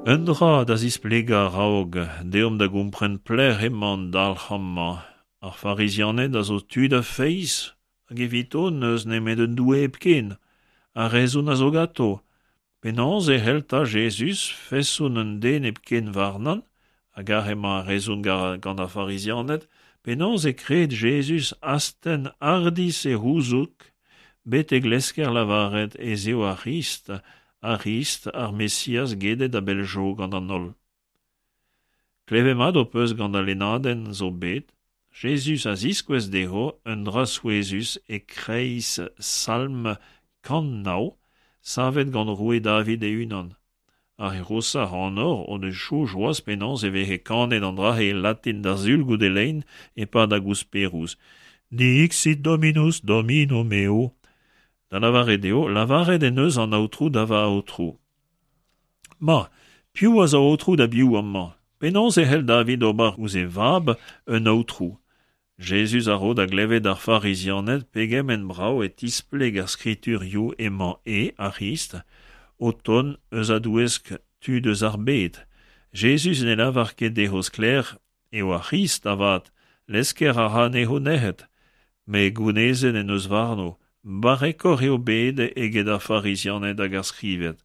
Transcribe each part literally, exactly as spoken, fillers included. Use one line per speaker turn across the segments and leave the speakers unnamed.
Un dra da zisplegañ a-raok, deomp da gompren pelec'h emañ an dalc'h amañ. Ar Farizianed a zo tud a feiz, hag evito n'eus nemet un Doue hepken. Ar rezon a zo ganto. Penaos e c'hell 'ta Jezuz, feson un den hepken warnañ, hag aze emañ ar rezon gant ar Farizianed, penaos e kred Jezuz astenn hardizh e c'houzoug betek lesker lavaret ez eo ar C'hrist, ar C'hrist, ar Mesiaz gedet a-bell zo gant an holl. Klevet mat ho peus gant al lennadenn zo bet, Jezuz a ziskouez dezho un dra souezhus e-kreiz Salm kant nav, savet gant roue David e-unan. Ar re c'hoshañ ac'hanoc'h o deus soñj c'hoazh penaos e veze kanet an dra-se e latin d'ar Sul goude lein e-pad ar gousperoù. Dixit Dominus Domino meo. Da lavaret eo, lavaret en deus an Aotrou da va Aotrou. Ma, piv a zo Aotrou da biv amañ? Penaos e c'hell David ober ouzh e vab un Aotrou? Jezuz a ro da glevet d'ar Farizianed pegement brav e tispleg ar skriturioù emañ e, ar C'hrist, o tont eus a-douesk tud eus ar bed. Jezuz ne lavar ket dezho sklaer eo ar C'hrist avat, lesker a ra anezho nec'het. Met gounezet en deus warno, barrekoc'h eo bet eget ar Farizianed hag ar Skribed.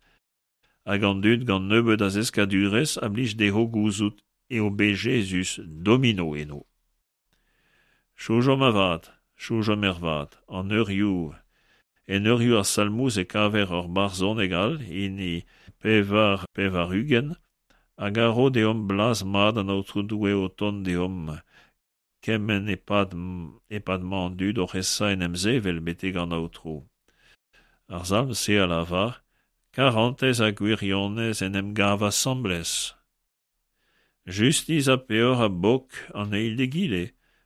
Hag an dud gant nebeut a zeskadurezh a blij dezho gouzout eo bet Jezuz domino eno. Soñjomp avat, soñjomp ervat, an eurioù. En eurioù ar Salmoù e kaver ur barzhoneg all, hini pevar pevar-ugent, hag a ro deomp blaz mat an Aotrou Doue o tont deomp kement e-pad e-pad mañ an dud oc'h esa en em sevel betek an Aotrou. Ar salm-se a lavar karantez ha gwirionez en em gav asambles. Justis ha peoc'h a bok an eil d'egile,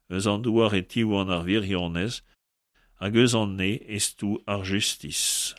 eus an douar e tiwan ar wirionez, hag eus an neñv e stou ar justis.